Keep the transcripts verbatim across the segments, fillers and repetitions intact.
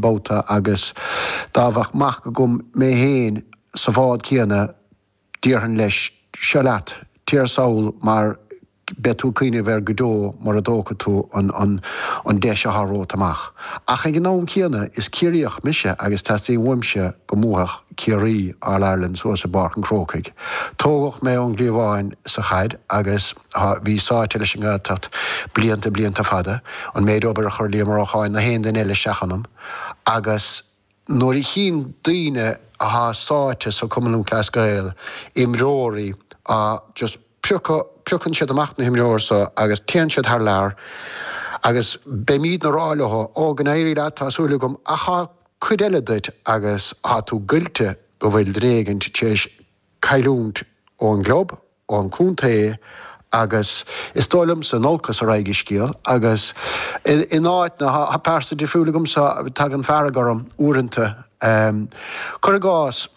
babhta agus dá mbeadh mac agam mé féin sa bhád céanna, déarfainn leis, seo leat, téir sall mar beidh tú ag cuimhneamh air go deo mura dtógfaidh tú an an deis atá romhat amach. Ach ag an am céanna, is Ciarraíoch mise agus teastaíonn uaimse go mbuafadh Ciarraí All Ireland suas i bPáirc an Chrócaigh. Tógadh mé ón gcliabhán sa chaid agus bhí sáite leis an nGaeltacht blianta blianta fada, an méid obair a chuir Liam Ó Lorcáin nó aon duine eile isteach ionam agus nuair a chíonn daoine athá sáite sa Cumann Lúthchleas Gael, imreoirí a just piocadh, piocann siad amach na himreoirí so agus téann siad thar lear agus beimídne a rá leo, ó go n-éirí leat, tá súil agam, ach tá cuid eile duit agus tá tú goillte go bhfuil duine éigint tar éis cailliúint ón gclub, ón chontae agus is dóigh liomsa in olcas a raghaidh an scéal agus in áit na, tá pearsa difriúil agamsa, tagann fearg orm uaireanta. Cuir i gcás,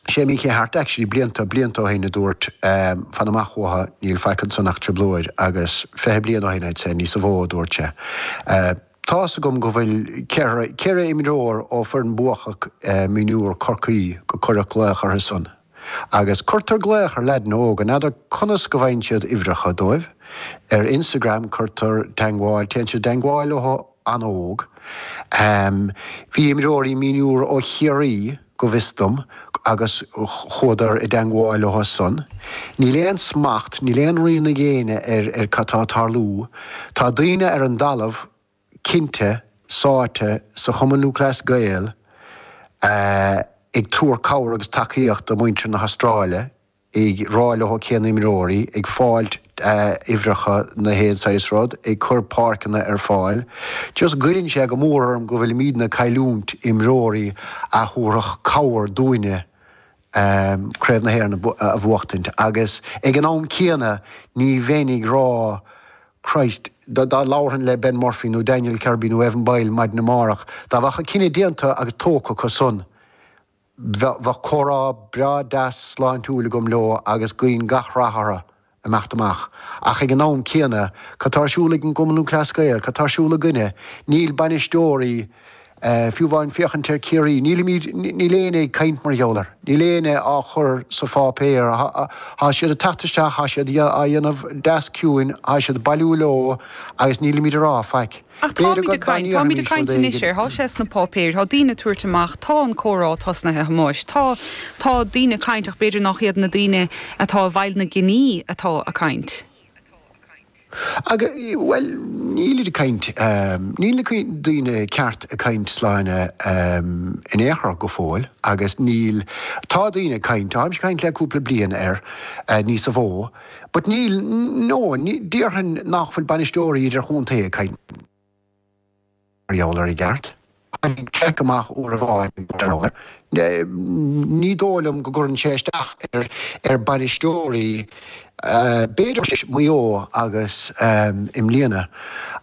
sé Mickey Harte actually blianta, blianta ó shin a dúirt fan amach uathu, níl faic ansan ach trioblóid agus fiche bliain ó shin I'd say, níosa mhó a dúirt sé. Tá's agam go bhfuil ceithre, ceithre imreoir ó foireann buacach mionúr Chorcaí go cuireadh glaoch orthu san. Agus cuirtear glaoch ar leaideanna óga, n'fheadar conas go bhfaigheann siad uimhreacha dóibh. Ar Instagram cuirtear teangmháil, téann siad i dteangmháil leo an-óg. Bhí imreoirí mionúr ó Chiarraí, go bhfios dom, agus chuadar i dteangmháil leo san. Níl aon smacht, níl aon rian ag éinne ar ar cad tá ag tarlú. Tá daoine ar an dtalamh, cinnte, sáite sa Chumann Lúthchleas Gael ag tabhairt cabhair agus tacaíocht do mhuintir na hAstráile, ag rá leo cé na himreoirí, ag fáilt uimhreacha na haon saghas rud, ag cur páirceanna ar fáil. Just goilleann sé go mór orm go bhfuilimídne ag cailliúint imreoirí a thabharfadh cabhair dúinne Craobh na hÉireann a bhuachtaint agus ag an am céanna ní bheinn ag rá Christ, dá labharfainn le Ben Murphy nó Daniel Kirby nó Evan Boyle maidin amárach, dá mbeadh an cinneadh déanta agus tógtha acu san, bheadh comhrá breá deas sláintiúil agam leo agus guím gach rath orthu imeacht amach. Ach ag an am céanna, cad tá ar siúl ag an gCumann Lúthchleas Gael, cad tá ar siúl againne? Níl bainisteoirí, fiú amháin féachaint ar Ciarraí, nílimid, níl éinne ag caint mar gheall air, níl éinne á chur sa pháipéar, tá siad ag teacht isteach, tá siad á dhéanamh deas ciúin, tá siad ag bailiú leo agus nílimid ag rá faic. Ach B'fhéidir táimid go ag caint, táimid ag ndéarfaimis caint rud anois éigin. air, tá sé sna páipéir, tá daoine ag tabhairt amach, tá an comhrá tosnaithe, a Thomáis, tá, tá daoine ag caint ach b'fhéidir nach iad na daoine atá i bhfeighil na gcinní atá ag caint. Agus, bhuel, nílid ag caint, níl na daoine ceart ag caint Sláine in aon chor go fóill agus níl, tá daoine ag caint, táimse ag caint le cúpla bliain air níosa mhó, but níl, no, déarfainn nach bhfuil bainisteoirí idirchontae ag caint mar gheall air i gceart. Tháinig Jack amach uair amháin mar gheall air. Ní dóigh liom go gcuireann sé isteach ar ar bainisteoirí, b'fhéidir Maigh Eo agus i mbliana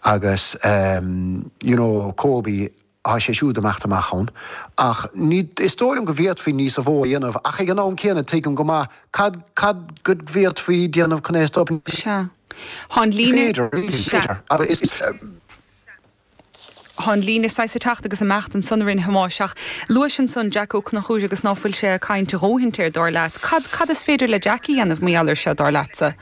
agus you know Kobe, tá sé siúd imeacht amach ann. Ach ní, is dóigh liom go bhféadfaí níosa mhó a dhéanamh ach ag an am céanna tuigim go maith cad, cad go bhféadfaí déanamh chun é a stop. Ní Sea. Tá an líne, féidir, really, ní sea. féidir. Abair, is, is. Tá an líne saghas ag teacht agus imeacht ansan a Thomáis ach luais ansan Jack Ó Conchúir agus ná fuil sé ag caint a dhóthaint air dar leat. Cad, cad is féidir le Jack a dhéanamh mar gheall air seo dar leatsa?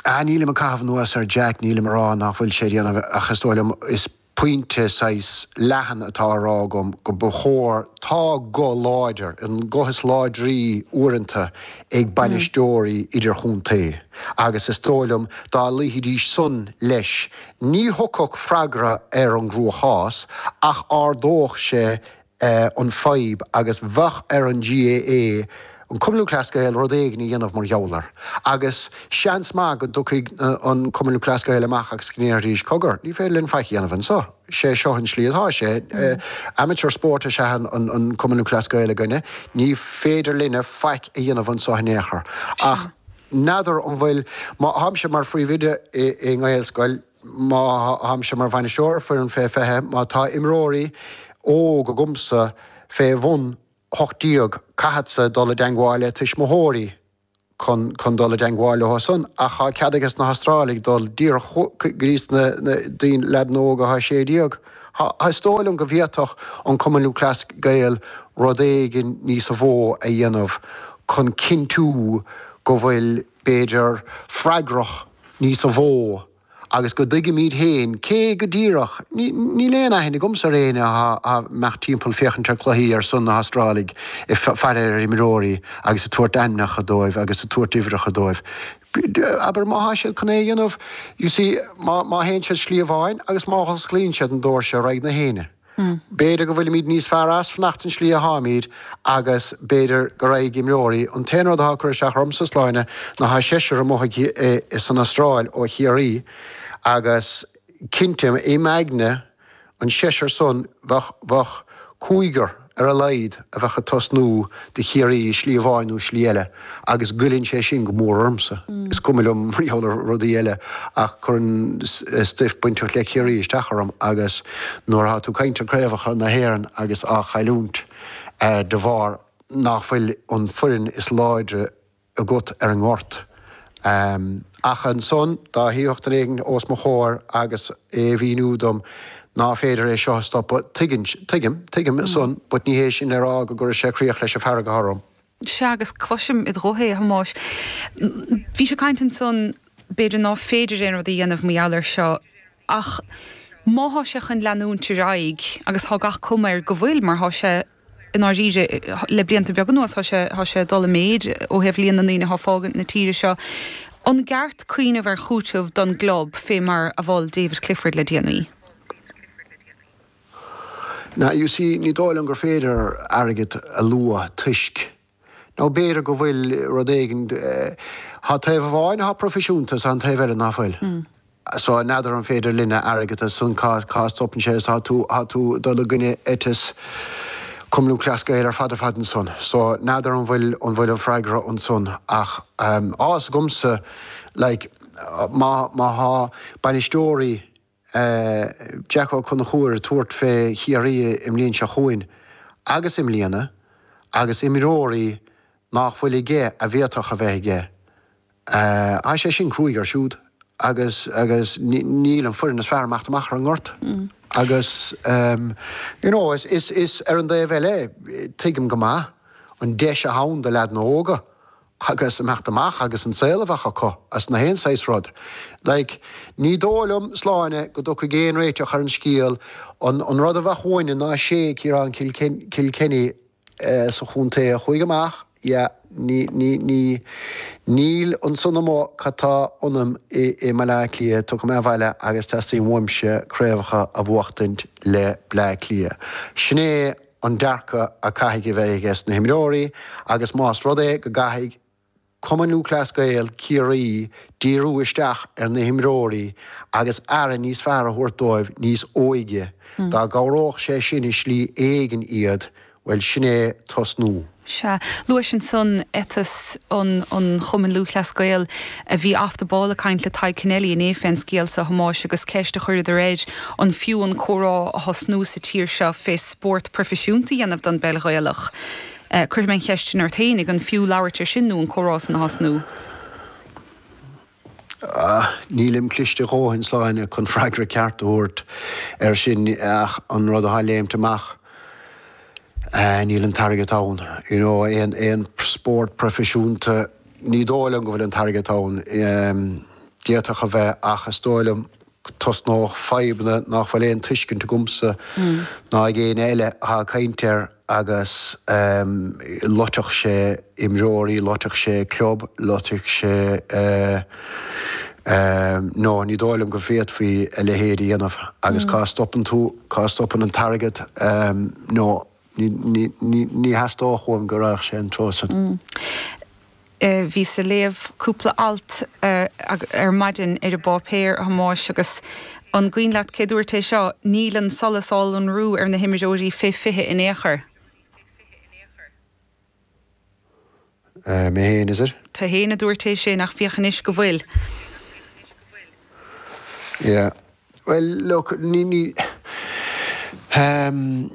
Ah, nílim ag caitheamh anuas ar Jack, nílim ag rá nach bhfuil sé ag déanamh ach is dóigh liom, is pointe saghas leathan atá á rá agam go ba chóir, tá guth láidir, an guth is láidrí uaireanta ag bainisteoirí idirchontae agus is dóigh liom dá luífidís san leis, ní thiocfadh freagra ar an gcruachás ach ardódh sé an fadhb agus bheadh ar an GAA, an Cumann Lúthchleas Gael, rud éigin a dhéanamh mar gheall air. Agus seans maith go dtiocfaidh an Cumann Lúthchleas Gael amach agus go ndéarfaidís, cogar, ní féidir linn faic a dhéanamh anseo, sé seo an slí atá sé, amateur sport is ea an Cumann Lúthchleas Gael againne, ní féidir linne faic a dhéanamh anseo in aon chor. Ach n'fheadar an bhfuil, má tháimse mar phríomhoide i nGaelscoil, má tháimse mar bhainisteoir foireann fé fiche, má tá imreoirí óg agamsa fé bhun hocht déag, caithfeadsa dul i dteangmháil le tuismitheoirí chun chun dul i dteangmháil leo san, ach tá cead ages na hAstrálaigh dul díreach go dtí na daoine, leaideanna óga atá sé déag, Is dóigh liom go bhféadfadh an Cumann Lúthchleas Gael rud éigin níos mó a dhéanamh chun cinntiú go bhfuil b'fhéidir freagrach níos mó agus go dtuigimid féin cé go díreach, níl aon aithne agamsa ar éinne a mbeadh timpeall féachaint ar chluichí ar son na hAstrálaigh ag faire ar imreoirí agus ag tabhairt ainmneacha dóibh agus ag tabhairt uimhreacha dóibh. Abair má thá siad chun é a dhéanamh, you see, má má théann siad slí amháin agus má osclaíonn siad an doirse ar aghaidh na héinne. B'fhéidir go bhfuilimid níos fearr as fanacht an slí atháimid agus b'fhéidir go raghaidh imreoirí. An t-aon rud atá ag cur isteach ormsa, Sláine, ná thá seisear amuigh san Astráil ó Chiarraí agus cinnte i m'aigne an seisear san bheadh bheadh cúigear ar a laghad a bheadh ag tosnú do Chiarraí i slí amháin nó slí eile agus goilleann sé sin go mór ormsa. Is cuma liom mar gheall ar rudaí eile ach cuireann stuif bainteach le Ciarraí isteach orm agus nuair atá tú ag caint ar craobhacha na hÉireann agus á chailliúint de bharr nach bhfuil an foireann is láidre agat ar an ngort. Ach ansan, dá thiocfadh duine éigin os mo chomhair agus é a mhíniú dom ná féidir é seo a stopadh, tuigeann, tuigim, tuigim san, but ní hé sin le rá go gcuirfidh sé críoch leis an bhfearg atá orm. Sea, agus cloisim id ghuth é, a Thomáis. Bhís ag caint ansan, b'fhéidir ná féidir aon rud a dhéanamh mar gheall air seo, ach má thá sé chun leanúint ar aghaidh, agus thá gach cuma air go bhfuil, mar thá sé, i ndáiríre, le blianta beaga anuas, thá sé, thá sé ag dul i méid ó thaobh líon na ndaoine athá ag fágaint na tíre seo. An gceart cuimhneamh ar chúiteamh don gclub fé mar a mhol David Clifford le déanaí? Now, you see, ní dóigh liom gur féidir airgead a lua toisc, nó b'fhéidir go bhfuil rud éigin, thá taobh amháin athá proifisiúnta is thá an taobh eile ná fuil. So, n'fheadar an féidir linne airgead a san cá cá stopann sé is thá tú thá tú ag dul i gcoinne eiteas Cumann Lúthchleas Gael ar fad ar fad ansan. So, n'fheadar an bhfuil an bhfuil an freagra ansan ach thá fhios agamsa like má má thá bainisteoirí Jack Ó Conchúir ag tabhairt fé Chiarraí i mbliain seo chugainn agus i mbliana agus imreoirí nách bhfuil aige a bhféadfadh a bheith aige. Thá sé sin cruaidh air siúd agus agus níl an foireann is fearr imeacht amach ar an ngort agus you know is is is ar an dtaobh eile tuigim go maith an deis athá ann do leaideanna óga agus imeacht amach agus an saol a bheadh acu as na haon saghas rud. Like ní dóigh liom Sláine go dtiocfaidh aon réiteach ar an scéal an an rud a bheadh uainne ná sé Ciarán Kilkenny sa chontae a chuaigh amach, yeah, ní, ní, ní, níl ansan amuigh cad tá ionam i, i mBaile Átha Cliath, tiocfaidh mé abhaile agus teastaíonn uaimse craobhacha a bhuachtaint le Bleá Cliath. Sin é an dearcadh a caithfidh a bheith aige sna himreoirí agus más rud é go gcaithfidh Cumann Lúthchleas Gael Ciarraí díriú isteach ar na himreoirí agus aire níos fearr a thabhairt dóibh níos óige, dá gcabhródh sé sin i slí éigin iad, bhuel, sin é tosnú. Sea. Luais ansan eiteas an Chumainn Lúthchleas Gael. Bhí Off the Ball ag caint le Tadhg Kennelly inné fén scéal so, a Thomáis, agus ceist a chuireadar air an fiú an comhrá a thosnú sa tír seo fé spórt proifisiúnta a dhéanamh don bpeil Ghaelach. Cuirfidh mé an cheist sin ort fhéinig, an fiú labhairt ar sin nó an comhrá san a thosnú? Nílim cliste a dhóthain, Sláine, chun freagra ceart a thabhairt air sin ach an rud atá léimt amach, níl an t-airgead ann. You know, aon, aon spórt proifisiúnta, ní dóigh liom go bhfuil an t-airgead ann. D'fhéadfadh a bheith ach is dóigh liom tosnódh fadhbanna nach bhfuil aon tuiscint agamsa ná ag éinne eile atá ag caint air agus loitfeadh sé imreoirí, loitfeadh sé club, loitfeadh sé no, ní dóigh liom go bhféadfaí a leithéid a dhéanamh agus cá stopann tú, cá stopann an t-airgead no, ní, ní, ní, ní theastódh uaim go raghadh sé an treo san. Bhíos ag léamh cúpla alt ar maidin ar an bpáipéar, a Thomáis, agus an cuimhin leat cé dúirt é seo, níl an solas á lonrú ar na himreoirí fé fiche in aon chor. Mé féin, is it? Tú féin a dúirt é sin, ach féach anois go bhfuil. Yeah. Well, look, ní, ní, um,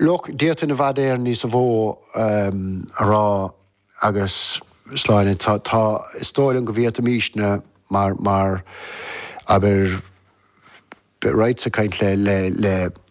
look, d'fhéadfainn i bhfad Éireann níos mó um, a rá agus Sláine, tá, tá, is dóigh liom go bhféadfaimísne mar, mar, abair, Raghadsa ag caint le le le